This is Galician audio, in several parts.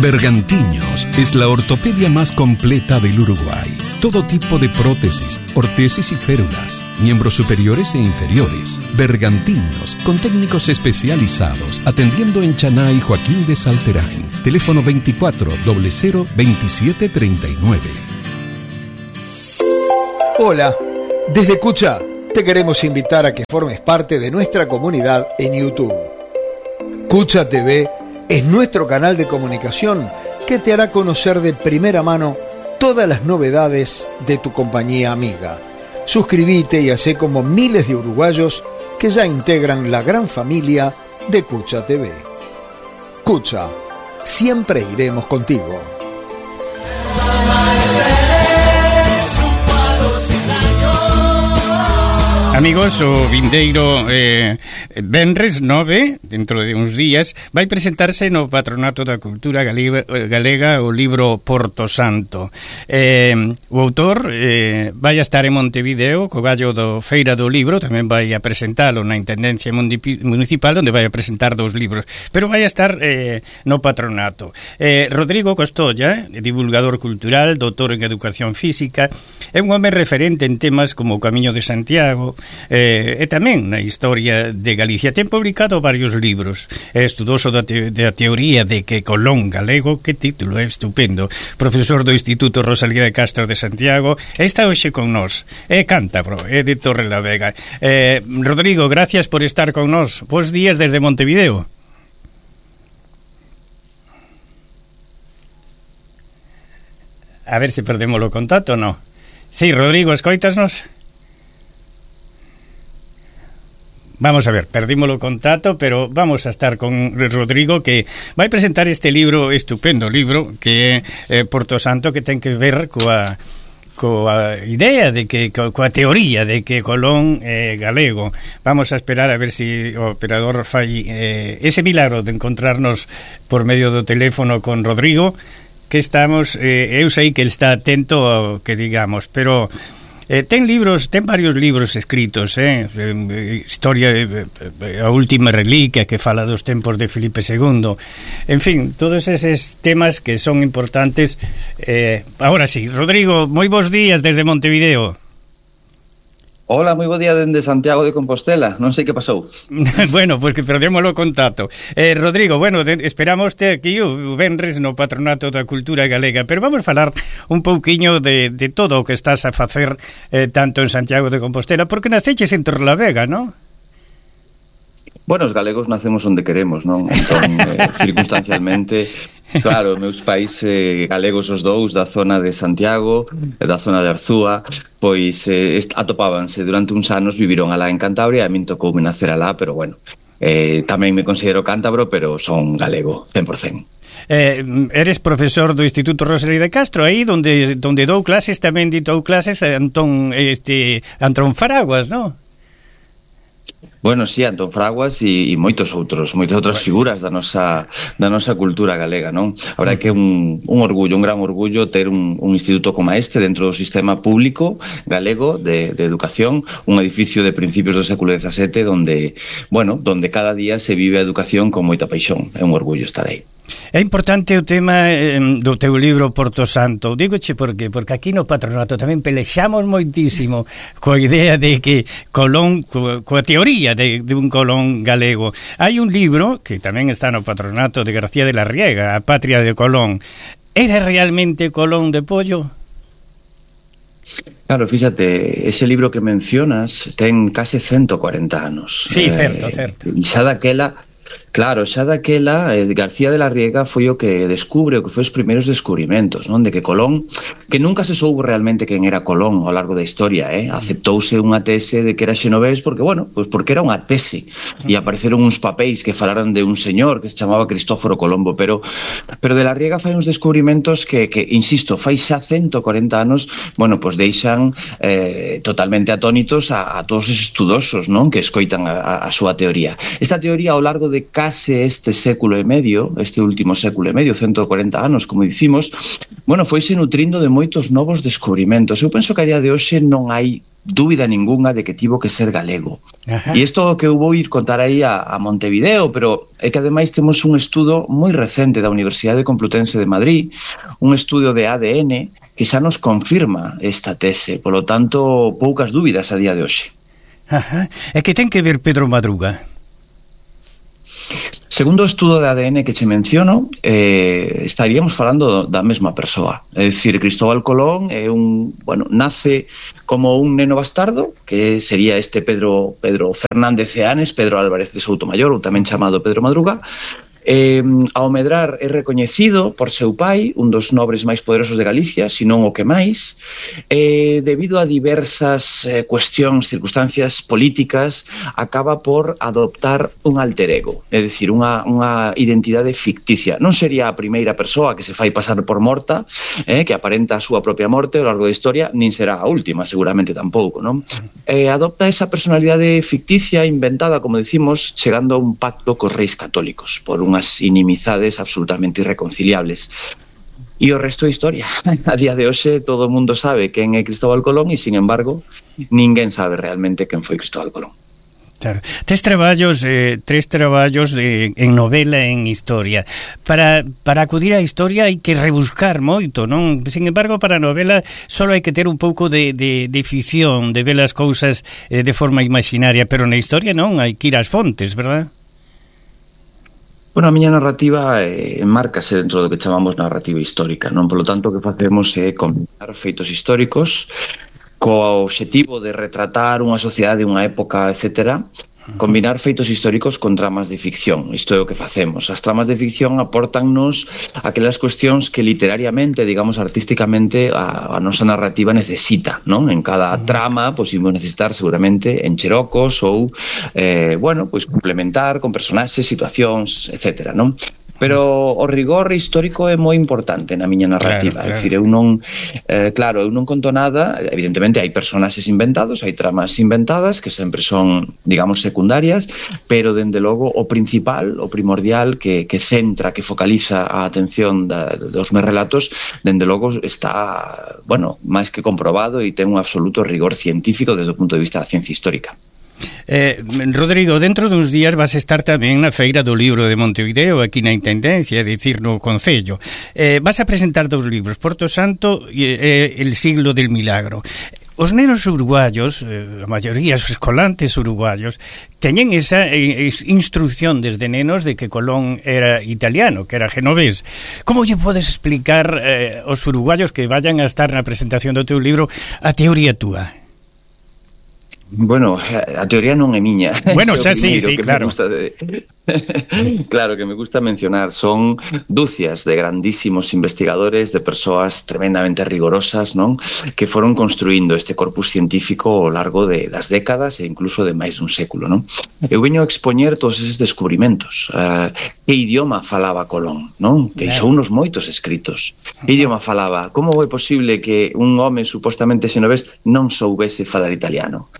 Bergantiños es la ortopedia más completa del Uruguay. Todo tipo de prótesis, ortesis y férulas, miembros superiores e inferiores. Bergantiños, con técnicos especializados, atendiendo en Chaná y Joaquín de Salterain. Teléfono 24 00 27 39. Hola, desde Cucha te queremos invitar a que formes parte de nuestra comunidad en YouTube. Cucha TV es nuestro canal de comunicación que te hará conocer de primera mano todas las novedades de tu compañía amiga. Suscríbete y hacé como miles de uruguayos que ya integran la gran familia de Cucha TV. Cucha, siempre iremos contigo. Amigos, o vindeiro venres 9, dentro de uns días, vai presentarse no Patronato da Cultura Galega o libro Porto Santo. O autor vai a estar en Montevideo co gallo do Feira do Libro, tamén vai a presentalo na Intendencia Municipal, onde vai a presentar 2 libros, pero vai a estar no Patronato. Rodrigo Costolla, divulgador cultural, doutor en Educación Física, é un home referente en temas como o Camiño de Santiago, e tamén na historia de Galicia. Ten publicado varios libros. É estudoso da teoría de que Colón galego, que título é estupendo, profesor do Instituto Rosalía de Castro de Santiago, está hoxe con nós, é cántabro, é de Torrelavega. Rodrigo, gracias por estar con nós. Bos días desde Montevideo. A ver se perdemos o contacto, non? Sí, Rodrigo, escoitasnos? Vamos a ver, perdimos o contacto, pero vamos a estar con Rodrigo, que vai presentar este libro, estupendo libro, que é Porto Santo, que ten que ver coa idea de que, coa teoría de que Colón é galego. Vamos a esperar a ver se o operador fai ese milagro de encontrarnos por medio do teléfono con Rodrigo, que estamos, eu sei que ele está atento ao que digamos, pero ten varios libros escritos, historia, a última reliquia, que fala dos tempos de Filipe II, en fin, todos eses temas que son importantes. Ahora sí, Rodrigo, moi bons días desde Montevideo. Hola, moi bo día dende Santiago de Compostela. Non sei que pasou. Bueno, pois que perdemos o contacto. Rodrigo, bueno, esperámoste aquí o venres no Patronato da Cultura Galega, pero vamos falar un pouquiño de todo o que estás a facer tanto en Santiago de Compostela, porque naceches en Torrelavega, non? Bueno, os galegos nacemos onde queremos, non? Entón, circunstancialmente, claro, meus pais galegos os dous da zona de Santiago, da zona de Arzúa, pois atopábanse durante uns anos, viviron alá en Cantabria, e a min tocoume nacer alá, pero bueno, tamén me considero cántabro, pero son galego, 100%. Eres profesor do Instituto Rosalía de Castro, aí donde dou clases, tamén ditou clases Antón Fraguas, non? Bueno, sí, Antón Fraguas e moitas outras figuras da nosa cultura galega, non? A verdade que é un orgullo, un gran orgullo ter un instituto como este dentro do sistema público galego de educación, un edificio de principios do século XVII donde cada día se vive a educación con moita paixón. É un orgullo estar aí. É importante o tema do teu libro Porto Santo. Dígoche por qué? Porque aquí no Patronato tamén pelexamos moitísimo coa idea de que Colón, coa teoría de un Colón galego. Hai un libro que tamén está no Patronato de García de la Riega, A Patria de Colón. Era realmente Colón de Pollo? Claro, fíxate, ese libro que mencionas ten case 140 anos. Sí, certo. Xa daquela García de la Riega foi o que descubre, o que foi os primeiros descubrimentos, non? De que Colón, que nunca se soubo realmente quen era Colón ao largo da historia, aceptouse unha tese de que era xenovés porque era unha tese, e apareceron uns papéis que falaran de un señor que se chamaba Cristóforo Colombo, pero de la Riega fai uns descubrimentos que insisto, fai xa 140 anos, deixan totalmente atónitos a todos os estudosos, non? Que escoitan a súa teoría. Esta teoría ao largo de case este século e medio, este último século e medio, 140 anos, como dicimos, foise nutrindo de moitos novos descubrimentos. Eu penso que a día de hoxe non hai dúbida ningunha de que tivo que ser galego. Ajá. E isto que eu vou ir contar aí a Montevideo, pero é que ademais temos un estudo moi recente da Universidade Complutense de Madrid, un estudio de ADN que xa nos confirma esta tese, polo tanto, poucas dúbidas a día de hoxe. Ajá. E que ten que ver Pedro Madruga? Segundo o estudo de ADN que che menciono, estaríamos falando da mesma persoa. É dicir, Cristóbal Colón é nace como un neno bastardo, que sería este Pedro Fernández Ceanes, Pedro Álvarez de Soutomayor, ou tamén chamado Pedro Madruga. Ao medrar é recoñecido por seu pai, un dos nobres máis poderosos de Galicia, senón o que máis, debido a diversas cuestións, circunstancias políticas, acaba por adoptar un alter ego, é dicir, unha identidade ficticia. Non sería a primeira persoa que se fai pasar por morta, que aparenta a súa propia morte ao largo da historia, nin será a última, seguramente tampouco, non? Adopta esa personalidade ficticia, inventada, como decimos, chegando a un pacto cos reis católicos, por unhas inimizades absolutamente irreconciliables. E o resto é historia. A día de hoxe todo o mundo sabe quen é Cristóbal Colón e, sin embargo, ninguén sabe realmente quen foi Cristóbal Colón. Claro. Tres traballos en novela e en historia. Para acudir á historia hai que rebuscar moito, non? Sin embargo, para a novela só hai que ter un pouco de ficción, de ver as cousas de forma imaginaria, pero na historia non, hai que ir ás fontes, verdad? Bueno, a miña narrativa enmárcase dentro do que chamamos narrativa histórica, non? Polo tanto, o que facemos é combinar feitos históricos co obxectivo de retratar unha sociedade, unha época, etcétera, combinar feitos históricos con tramas de ficción. Isto é o que facemos. As tramas de ficción apórtannos aquelas cuestións que literariamente, digamos artísticamente, a nosa narrativa necesita, non? En cada trama, pois imos necesitar seguramente encherocos ou, complementar con personaxes, situacións, etcétera, non? Pero o rigor histórico é moi importante na miña narrativa. Claro. É dicir, eu non conto nada. Evidentemente hai personaxes inventados, hai tramas inventadas que sempre son, digamos, secundarias, pero dende logo o principal, o primordial que centra, que focaliza a atención dos meus relatos, dende logo está, máis que comprobado e ten un absoluto rigor científico desde o punto de vista da ciencia histórica. Rodrigo, dentro duns días vas a estar tamén na Feira do Libro de Montevideo, aquí na Intendencia, é dicir, no Concello. Vas a presentar 2 libros, Porto Santo e El siglo del milagro. Os nenos uruguayos, a maioría os escolantes uruguayos, teñen esa instrucción desde nenos de que Colón era italiano, que era genovés. Como lle podes explicar aos uruguayos que vayan a estar na presentación do teu libro a teoría túa? Bueno, a teoría non é miña. Bueno, xa sí, claro. Claro, que me gusta mencionar, son dúcias de grandísimos investigadores, de persoas tremendamente rigorosas, non? Que foron construindo este corpus científico ao largo das décadas e incluso de máis dun século, non? Eu veño a expoñer todos eses descubrimentos. Que idioma falaba Colón, non? Deixou unos moitos escritos. Que idioma falaba? Como é posible que un home supostamente xenovés non soubese falar italiano?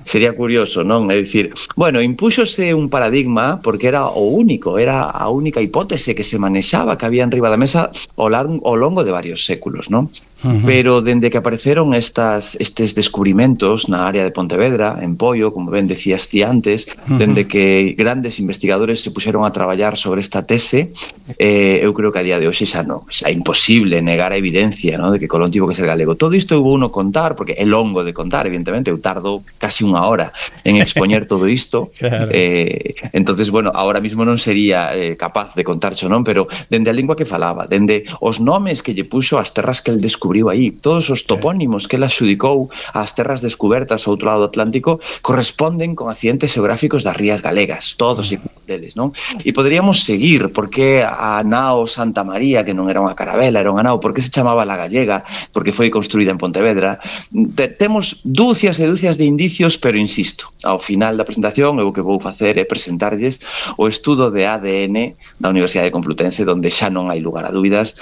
Sería curioso, non? É dicir, impúxose un paradigma porque era o único, era a única hipótese que se manexaba, que había en riba da mesa ao longo de varios séculos, non? Pero dende que apareceron estes descubrimentos na área de Pontevedra, en Poio, como ben decías ti antes, dende que grandes investigadores se puxeron a traballar sobre esta tese, eu creo que a día de hoxe xa é imposible negar a evidencia, non? De que Colón tivo que ser galego. Todo isto eu vou contar, porque é longo de contar, evidentemente, eu tardo casi unha hora en expoñer todo isto. Claro. Entonces, ahora mismo non sería capaz de contarcho, non? Pero dende a lingua que falaba, dende os nomes que lle puxo as terras que el descubriu aí, todos os topónimos que el axudicou ás terras descubertas ao outro lado do Atlántico corresponden con accidentes geográficos das rías galegas, todos e deles, non? E poderíamos seguir, porque a nao Santa María, que non era unha carabela, era unha nao, porque se chamaba La Gallega, porque foi construída en Pontevedra. Temos dúcias e dúcias de indicios, pero insisto, ao final da presentación eu o que vou facer é presentarlles o estudo de ADN da Universidade Complutense, onde xa non hai lugar a dúbidas,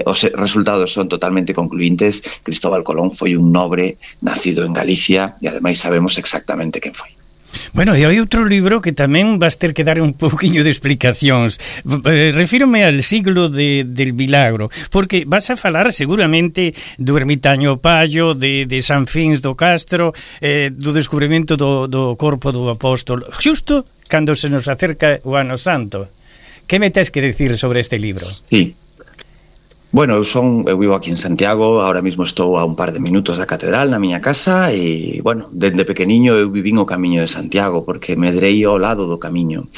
os resultados son totalmente concluintes. Cristóbal Colón foi un nobre nacido en Galicia e ademais sabemos exactamente quen foi. Bueno, e hai outro libro que tamén vas ter que dar un pouquiño de explicacións. Refírome al siglo del milagro, porque vas a falar seguramente do ermitaño Pallo, de San Fins do Castro, do descubrimento do corpo do apóstolo, xusto cando se nos acerca o Ano Santo. Que me tes que decir sobre este libro? Sí. Bueno, eu vivo aquí en Santiago, ahora mismo estou a un par de minutos da catedral na miña casa e, bueno, dende pequeniño eu vivín o camiño de Santiago porque medrei ao lado do camiño.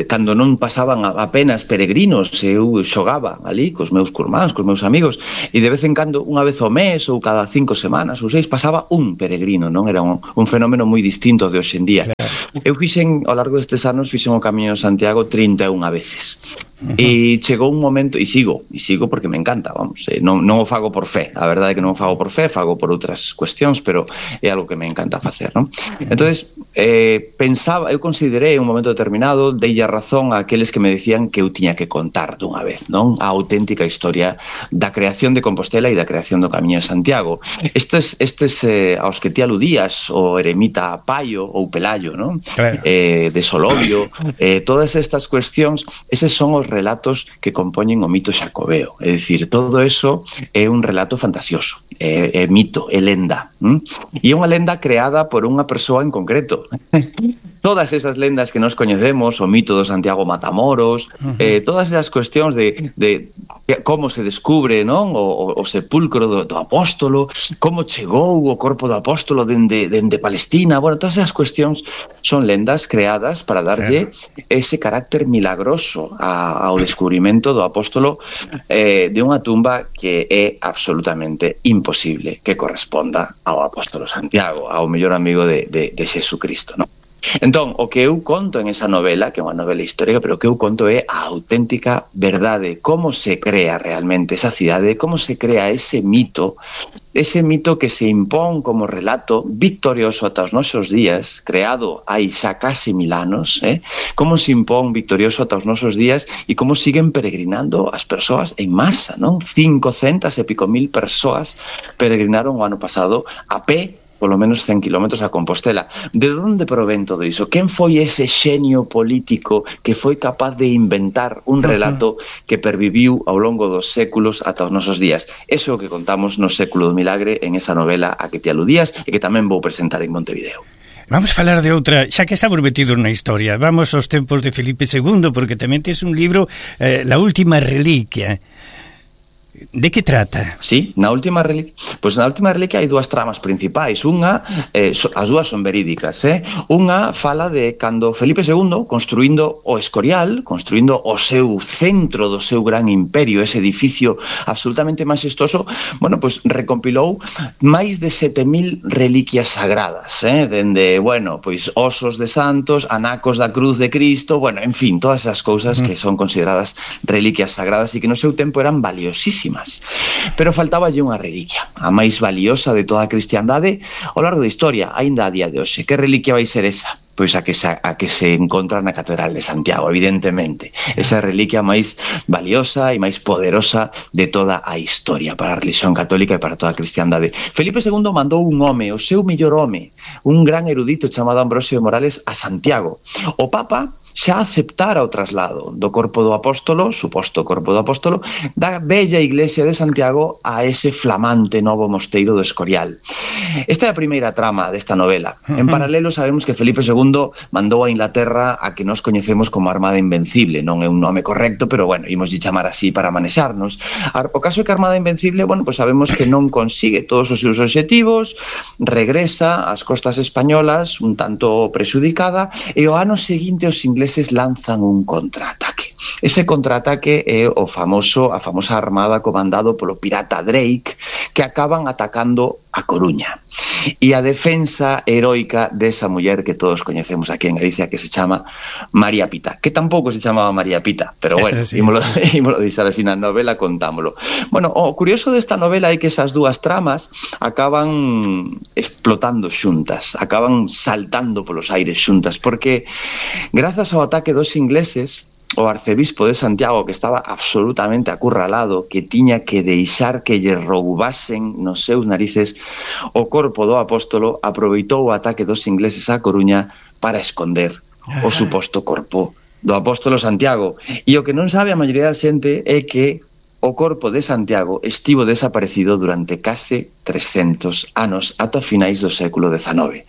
Cando non pasaban apenas peregrinos, eu xogaba ali cos meus curmáns, cos meus amigos, e de vez en cando, unha vez ao mes ou cada 5 semanas ou 6, pasaba un peregrino, non? Era un fenómeno moi distinto de hoxe en día. Claro. Eu fixen, ao largo destes anos, fixen o camiño de Santiago 31 veces. E chegou un momento, e sigo porque me encanta, vamos, non o fago por fe, a verdade é que non o fago por fe, fago por outras cuestións, pero é algo que me encanta facer, non? Entonces, pensaba, eu considerei un momento determinado, deille a razón a aqueles que me decían que eu tiña que contar dunha vez, non? A auténtica historia da creación de Compostela e da creación do Camiño de Santiago. Estes aos que ti aludías, o eremita Paio ou Pelayo, non? Claro. De Solovio, todas estas cuestións, eses son os relatos que compoñen o mito xacobeo, é dicir, todo eso é un relato fantasioso, é mito, é lenda, e é unha lenda creada por unha persoa en concreto. Todas esas lendas que nos coñecemos, o mito do Santiago Matamoros, todas esas cuestións de como se descubre, non, o sepulcro do apóstolo, como chegou o corpo do apóstolo dende Palestina, bueno, todas esas cuestións son lendas creadas para darlle ese carácter milagroso ao descubrimento do apóstolo de unha tumba que é absolutamente imposible que corresponda ao apóstolo Santiago, ao mellor amigo de Xesucristo, non? Entón, o que eu conto en esa novela, que é unha novela histórica, pero o que eu conto é a auténtica verdade, como se crea realmente esa cidade, como se crea ese mito que se impón como relato victorioso ata os nosos días, creado hai xa case 1000 anos, como se impón victorioso ata os nosos días e como siguen peregrinando as persoas en masa, non? 500 e pico mil persoas peregrinaron o ano pasado a pé, polo menos 100 kilómetros a Compostela. De onde provén todo iso? Quen foi ese xenio político que foi capaz de inventar un relato que perviviu ao longo dos séculos ata os nosos días? Eso é o que contamos no Século do Milagre en esa novela a que te aludías e que tamén vou presentar en Montevideo. Vamos falar de outra, xa que estamos metidos na historia, vamos aos tempos de Felipe II, porque tamén tes un libro, La Última Reliquia. De que trata? Sí, na última reliquia hai dúas tramas principais. Unha, as dúas son verídicas, Unha fala de cando Felipe II, construindo o Escorial, construindo o seu centro do seu gran imperio, ese edificio absolutamente majestoso, bueno, pois recompilou máis de 7.000 reliquias sagradas, dende, bueno, pois osos de santos, anacos da cruz de Cristo, bueno, en fin, todas esas cousas que son consideradas reliquias sagradas e que no seu tempo eran valiosísimas. Pero faltáballe unha reliquia, a máis valiosa de toda a cristiandade ao largo da historia, aínda a día de hoxe. Que reliquia vai ser esa? Pois a que se encontra na Catedral de Santiago, evidentemente. Esa reliquia máis valiosa e máis poderosa de toda a historia para a religión católica e para toda a cristiandade. Felipe II mandou un home, o seu mellor home, un gran erudito chamado Ambrosio de Morales, a Santiago. O Papa xa aceptara o traslado do corpo do apóstolo, suposto corpo do apóstolo, da bella iglesia de Santiago a ese flamante novo mosteiro do Escorial. Esta é a primeira trama desta novela. En paralelo sabemos que Felipe II mandou a Inglaterra a que nos coñecemos como Armada Invencible. Non é un nome correcto, pero bueno, imos chamar así para manexarnos. O caso é que a Armada Invencible, bueno, pues sabemos que non consigue todos os seus obxectivos, regresa ás costas españolas un tanto prexudicada e o ano seguinte os ingleses lanzan un contraataque. Ese contraataque é a famosa armada comandado polo pirata Drake, que acaban atacando a Coruña. E a defensa heroica desa muller que todos coñecemos aquí en Galicia, que se chama María Pita, que tampouco se chamaba María Pita, pero bueno, ímolo deixar así na novela, contámolo. Bueno, o curioso desta novela é que esas dúas tramas acaban explotando xuntas, acaban saltando polos aires xuntas, porque grazas ao ataque dos ingleses, o arcebispo de Santiago, que estaba absolutamente acurralado, que tiña que deixar que lle roubasen nos seus narices o corpo do apóstolo, aproveitou o ataque dos ingleses á Coruña para esconder o suposto corpo do apóstolo Santiago. E o que non sabe a maioría da xente é que o corpo de Santiago estivo desaparecido durante case 300 anos, ata finais do século XIX.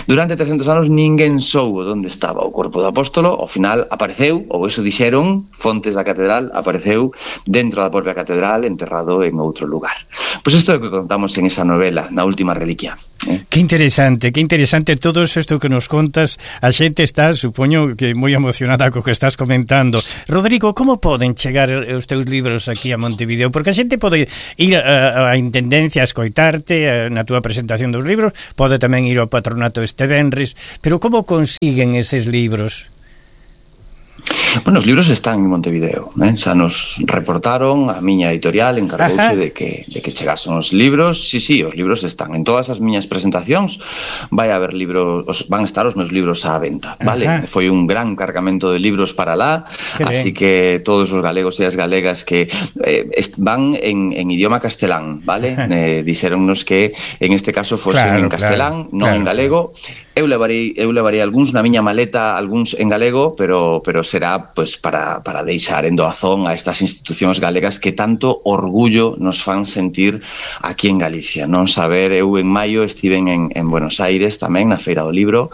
Durante 300 anos ninguén soubo onde estaba o corpo do apóstolo. Ao final apareceu, ou eso dixeron fontes da catedral, apareceu dentro da propia catedral, enterrado en outro lugar. Pois isto é o que contamos en esa novela, na última reliquia. Que interesante todo isto que nos contas. A xente está, supoño que moi emocionada co que estás comentando. Rodrigo, como poden chegar os teus libros aquí a Montevideo? Porque a xente pode ir a Intendencia a escoitarte na túa presentación dos libros, pode tamén ir ao patronato este venres, pero como consiguen eses libros? Bueno, os libros están en Montevideo, xa nos reportaron, a miña editorial encargouse de que chegasen os libros. Sí, os libros están en todas as miñas presentacións, vai haber libros, van estar os meus libros á venta, vale? Foi un gran cargamento de libros para lá, así que todos os galegos e as galegas que van en idioma castelán, vale? Dixéronnos que en este caso fosen en castelán, non en galego. Eu levarei algúns na miña maleta, algúns en galego, pero será pues para deixar en doazón a estas institucións galegas que tanto orgullo nos fan sentir aquí en Galicia. Non saber, eu en maio estive en Buenos Aires tamén, na Feira do Libro,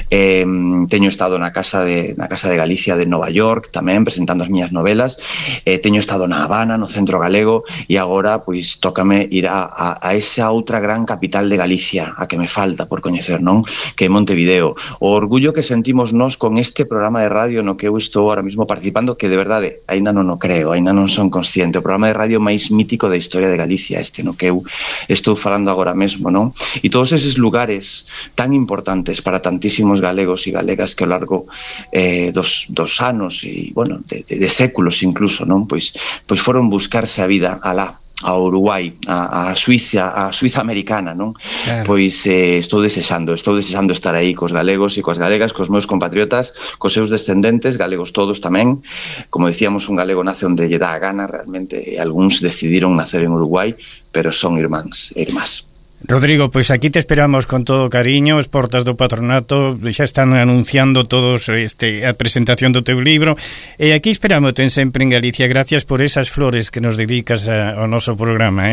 teño estado na Casa de Galicia de Nova York tamén, presentando as miñas novelas, teño estado na Habana, no Centro Galego, e agora pois tócame ir a esa outra gran capital de Galicia, a que me falta por coñecer, non? Que é Montevideo. O orgullo que sentimos nós con este programa de radio no que eu estou ahora mismo participando, que de verdade aínda non o creo, aínda non son consciente, o programa de radio máis mítico da historia de Galicia, este no que eu estou falando agora mesmo, non? E todos eses lugares tan importantes para tantísimos galegos e galegas que ao largo dos anos e, bueno, de séculos incluso, non? Pois foron buscarse a vida alá, a Uruguai, a Suiza americana, non? Claro. Pois estou desexando estar aí cos galegos e coas galegas, cos meus compatriotas, cos seus descendentes, galegos todos tamén. Como decíamos, un galego nace onde lle dá a gana realmente, e algúns decidiron nacer en Uruguai, pero son irmáns e irmás. Rodrigo, pois aquí te esperamos con todo cariño. As portas do patronato xa están anunciando todos a presentación do teu libro, e aquí esperámote sempre en Galicia. Gracias por esas flores que nos dedicas ao noso programa,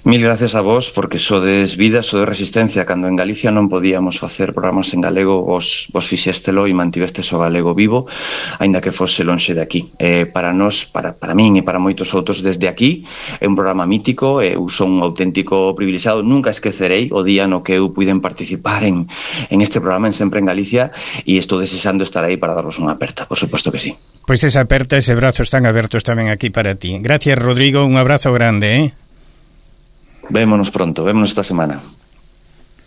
Mil gracias a vos, porque sodes vida, sodes resistencia. Cando en Galicia non podíamos facer programas en galego, vos fixéstelo e mantivestes o galego vivo, aínda que fose lonxe de aquí. Para nós, para min e para moitos outros desde aquí, é un programa mítico. Eu son un auténtico privilexiado. Nunca esquecerei o día no que eu puiden participar en este programa en Sempre en Galicia, e estou desexando estar aí para darvos unha aperta, por suposto que sí. Pois esa aperta, ese brazo están abertos tamén aquí para ti. Gracias, Rodrigo, un abrazo grande, Vémonos pronto, vémonos esta semana.